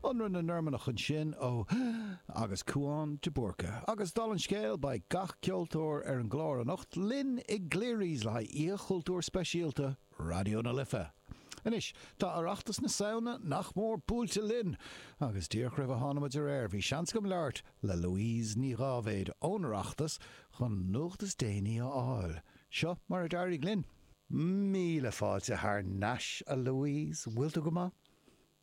Ionradh na Normannach ansin ó agus Cúán de Búrca. Agus dála an scéil, beidh gach ceoltóir ar an gclár anocht linn i gCleary's le haghaidh Oíche Chultúir speisialta Raidió na Life. Anois, tá Oireachtas na Samhna nach mór buailte linn, agus díreach roimh a tháinig muid ar aer, bhí seans agam labhairt le Louise Ní Dháibhéid ón Oireachtas chun an nuacht is déanaí a fháil. Seo mar a d'éirigh linn. Míle fáilte thar n-ais, a Louise. Bhfuil tú go maith?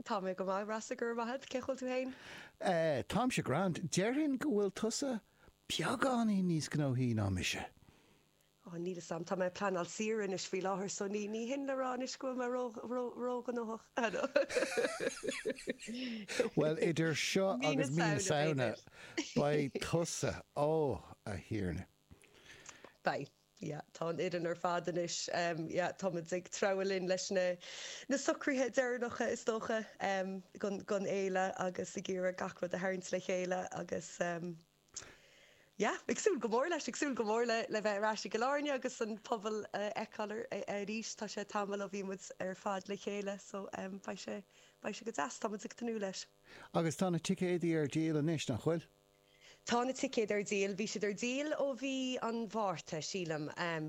Tá mé go maith, Rossa, go raibh maith agat. Cén chaoi a bhfuil tú féin? Eh, táimse grand. Déarfainn go bhfuil tusa beagáinín níos gnóthaí ná mise. Ó, níl 'fhios a'm. Tá mé ag pleanáil saoire anois faoi láthair so ní, ní hin le rá anois go bhfuil mé ró, ró, róghnóthach. Bhuel, idir seo Mí na agus mí na Samhna, Samhna, b'fhéidir. beidh tusa, ó, a Thiarna. Beidh. Yeah, tá an fhoireann ar fad anois, yeah, tá muid ag treabhadh linn leis na na socruithe deireanacha is dócha don don fhéile agus ag iarraidh gach rud a tharraingt le chéile agus yeah, ag súil go mór leis, ag súil go mór le le bheith ar ais i gCill Airne agus an pobal a fheiceáil arís, tá sé tamall ó bhí muid ar fad le chéile so beidh sé beidh sé go deas, tá muid ag tnúth leis. Agus tá na ticéadaí ar díol anois, nach bhfuil? Tá na ticéid ar díol. Bhí siad ar díol ó mhí an Mhárta, sílim.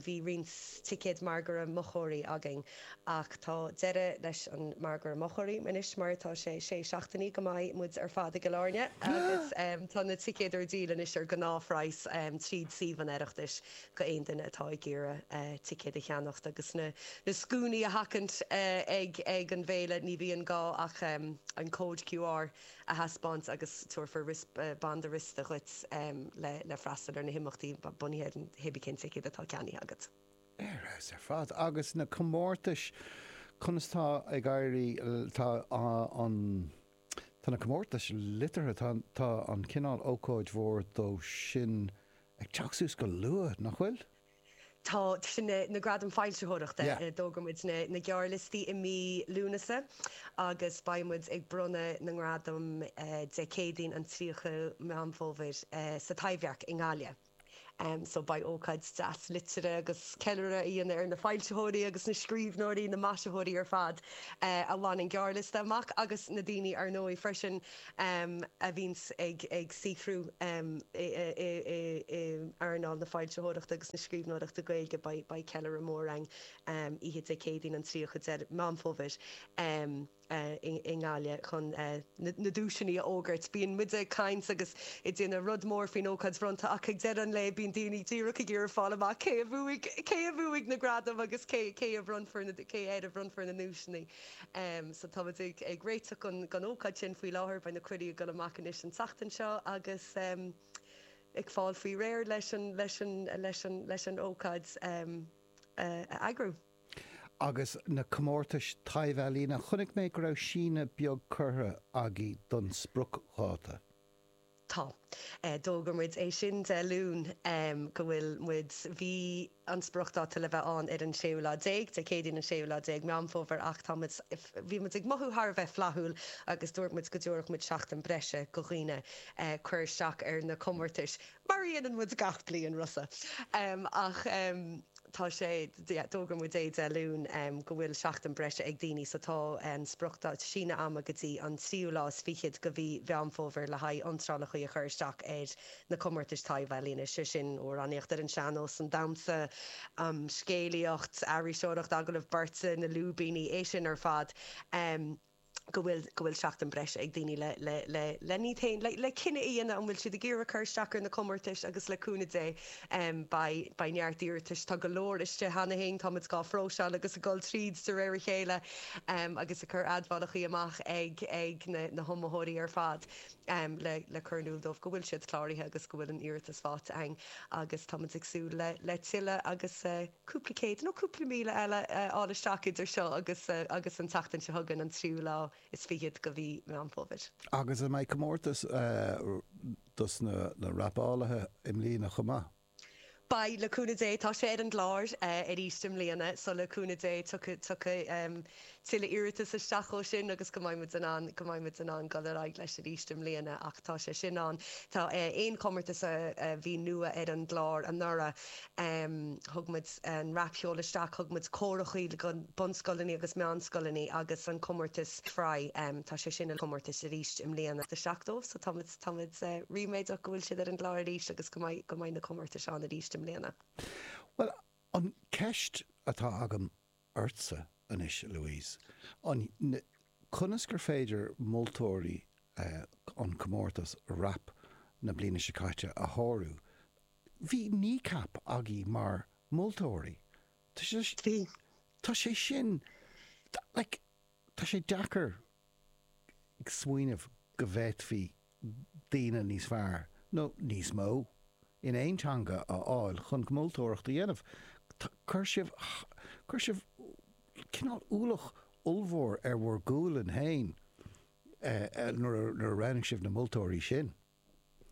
Bhí roinnt ticéad margaidh mochóirí againn ach tá deireadh leis an margadh mochóirí anois mar tá sé sé seachtainí go mbeidh muid ar fad i gCill Airne agus tá na ticéid ar díol anois ar gnáthphraghas tríd suíomh an Oireachtais go aon duine atá ag iarraidh ticéad a cheannacht agus na scuainí a sheachaint ag ag an bhféile. Ní bhíonn gá ach an cód QR a thaispeáint agus tabharfar banda riosta dhuit le freastal ar na himeachtaí bunaithe ar an hébí cén ticéad atá ceannaithe agat. Ar fheabhas ar fad. Agus na comórtais, conas tá ag éirí, tá an, tá na comórtais liteartha, tá, tá an cineál ócáid mhór dó sin ag teacht suas go luath, nach bhfuil? Tá, sin na Gradaim Foilsitheoireachta. D'fhógair muid na gearrliostaí i mí Lúnasa agus beidh muid ag bronnadh na ngradam Dé Céadaoin an 30 Meán Fómhair sa Taibhdhearc i nGaillimh. So beidh ócáid deas liteartha agus ceiliúradh a dhéanamh ar na foilsitheoirí agus na scríbhneoirí, na maisitheoirí ar fad a bhain an gearrliosta amach agus na daoine ar ndóigh freisin a bhíonns ag saothrú i earnáil na foilsitheoireachta agus na scríbhneoireachta Gaeilge. Beidh ceiliúradh mór againn oíche Dé Céadaoin an 30 Meán Fómhair i nGaillimh chun na duaiseanna a fhógairt. Bíonn muide ag caint agus ag déanamh rud mór faoin ócáid bhronnta ach ag deireadh an lae bíonn daoine díreach ag iarraidh fáil amach cé a bhuaigh, cé a bhuaigh na gradaim agus cé a bhronnfar na, cé air a bhronnfar na nduaiseanna. So tá muid ag réiteach don ócáid sin faoi láthair, beidh na cuirí ag dul amach anois an tseachtain seo agus ag fáil faoi réir leis an, leis an, leis an, leis an ócáid a eagrú. Agus na comórtais taibh-ealaíne, chonaic mé go raibh síneadh beag curtha agaibh don spriocdháta. Tá. D'fhógair muid é sin Dé Luain go bhfuil muid, bhí an spriocdháta le bheith ann ar an séú lá déag, Dé Céadaoin an séú lá déag Meán Fómhair ach tá muid, bhí muid ag mothú thar a bheith flaithiúil agus dúirt muid go dtabharfadh muid seachtain breise go dhaoine cur isteach ar na comórtais mar a dhéanann muid gach bliain, Rossa. Ach tá sé, yeah, d'fhógair muid é Dé Luain go bhfuil seachtain breise ag daoine so tá an spriocdháta, síneadh ama go dtí an tríú lá is fichead go mhí Mheán Fómhair le haghaidh iontrálacha a chur isteach ar na comórtais taibh-ealaíne, sé sin amhránaíocht ar an sean-nós, an damhsa, scéalaíocht, aithriseoireacht, agallamh beirte, na lúibíní, é sin ar fad. go bhfuil, go bhfuil seachtain breise ag daoine le, le, le, le iad féin, le, le cinneadh a dhéanamh an bhfuil siad ag iarraidh cur isteach ar na comórtais agus le cúnamh Dé beidh, beidh neart iarratais, tá go leor istigh cheana féin, tá muid dhá phróiseáil agus ag dul tríd de réir a chéile agus ag cur admhálachaí amach ag, ag na, na hiomaitheoirí ar fad le, le cur in iúl dóibh go bhfuil siad cláraithe agus go bhfuil an iarratas faighte againn agus tá muid ag súil le, le tuilleadh agus. cúpla céad nó cúpla míle eile a fháil isteach idir seo agus agus an tseachtain seo chugainn, an tríú lá is fichead go mhí Meán Fómhair. Agus an mbeidh comórtas dos na rapálaithe i mbliana chomh maith? Beidh, le cúnamh Dé. Tá sé ar an gclár arís i mbliana so le cúnamh Dé tiocfaidh, tiocfaidh. tuilleadh iarratas isteach ó sin agus go mbeidh muid in ann, go mbeidh muid in ann dul ar aghaidh leis arís i mbliana ach tá sé sin ann. Tá aon chomórtas a bhí nua ar an gclár anuraidh, thug muid an rapcheol isteach, thug muid córachaí go bunscoileanna agus meánscoileanna agus an comórtas Fry, tá sé sin ina chomórtas arís i mbliana isteach dóibh so tá muid, tá muid ríméadach go bhfuil siad ar an gclár arís agus go mbeidh, go mbeidh na comórtais ann arís i mbliana. Bhuel, an ceist atá agam ortsa anois, Louise, an, conas gur féidir moltóirí an comórtas rap na bliana seo caite a shárú? Bhí Kneecap agaibh mar moltóirí. Tá sé, Bhí. tá sé sin, like, tá sé deacair smaoineamh go bhféadfaí daoine níos fearr, nó níos mó, in aon teanga a fháil chun moltóireacht a dhéanamh. Chuir sibh, chuir sibh cineál ualach ollmhór ar bhur gualainn féin nuair a roghnaigh sibh na moltóirí sin.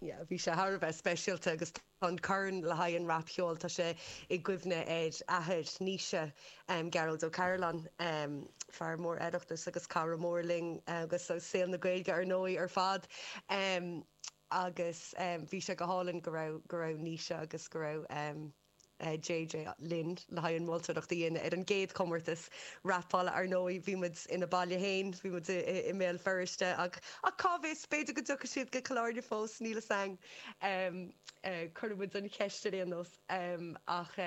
Yeah, bhí sé thar a bheith speisialta agus tá an corn le haghaidh an rapcheoil, tá sé i gcuimhne ar athair Naoise, Gearóid Ó Cairealláin, fear mór Oireachtais agus cara mór linn agus saol na Gaeilge ar ndóigh ar fad. Agus bhí sé go hálainn go raibh, go raibh Naoise agus go raibh. JJ linn le haghaidh an mholtóireacht a dhéanamh ar an gcéad chomórtas rapála. Ar ndóigh, bhí muid ina baile féin, bhí muid i mBéal Feirste ach ach cá bhfios, b'fhéidir go dtiocfaidh siad go Cill Airne fós, níl fhios a'inn. Cuirfidh muid an cheist ar aon nós. Ach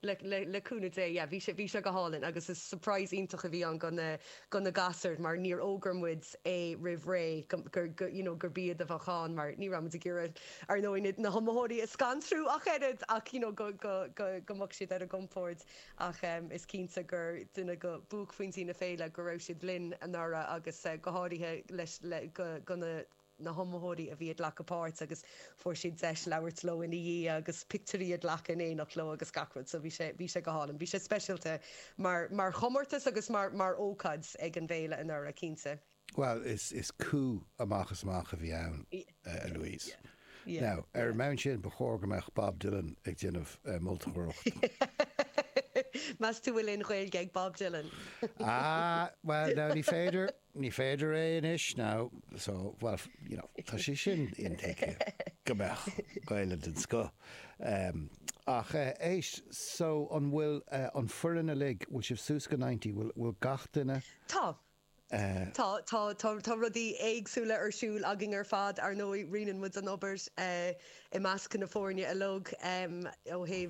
le le cúnamh Dé, yeah, bhí sé bhí sé go hálainn agus is surprise iontach a bhí ann go na go na gasúir mar níor fhógair muid é roimh ré go gur go you know gurb iad a bheadh ann mar ní raibh muid ag iarraidh ar ndóigh na hiomaitheoirí a scanrú ach oiread ach you know go go go go mbeadh siad ar a gcompord ach em is cinnte gur duine go buaicphointí na féile go raibh siad linn anuraidh agus eh go háirithe leis le go go na na hiomaitheoirí a bhí ag glacadh páirt agus fuair siad deis labhairt leo ina dhiaidh agus pictiúirí a ghlacadh in éineacht leo agus gach rud so bhí sé bhí sé go hálainn. Bhí sé speisialta mar mar chomórtas agus mar mar ócáid ag an bhféile anuraidh cinnte. Bhuel, is is coup amach is amach a bhí ann, a Louise. Now, ar an mbonn sin, ba chóir go mbeadh Bob Dylan ag déanamh moltóireacht. Meas tú bhfuil aon Ghaeilge ag Bob Dylan? Ah, bhuel, now ní féidir, ní féidir é anois now, so, well, you know, tá sé sin intuigthe go mbeadh Gaeilge den scoth. Ach éist, so an bhfuil an foireann uilig, bhfuil sibh suas go 90, bhfuil, bhfuil gach duine? Tá. Tá, tá, tá, tá rudaí éagsúla ar siúl againn ar fad. Ar ndóigh, roinneann muid an obair i measc na foirne uilig ó thaobh.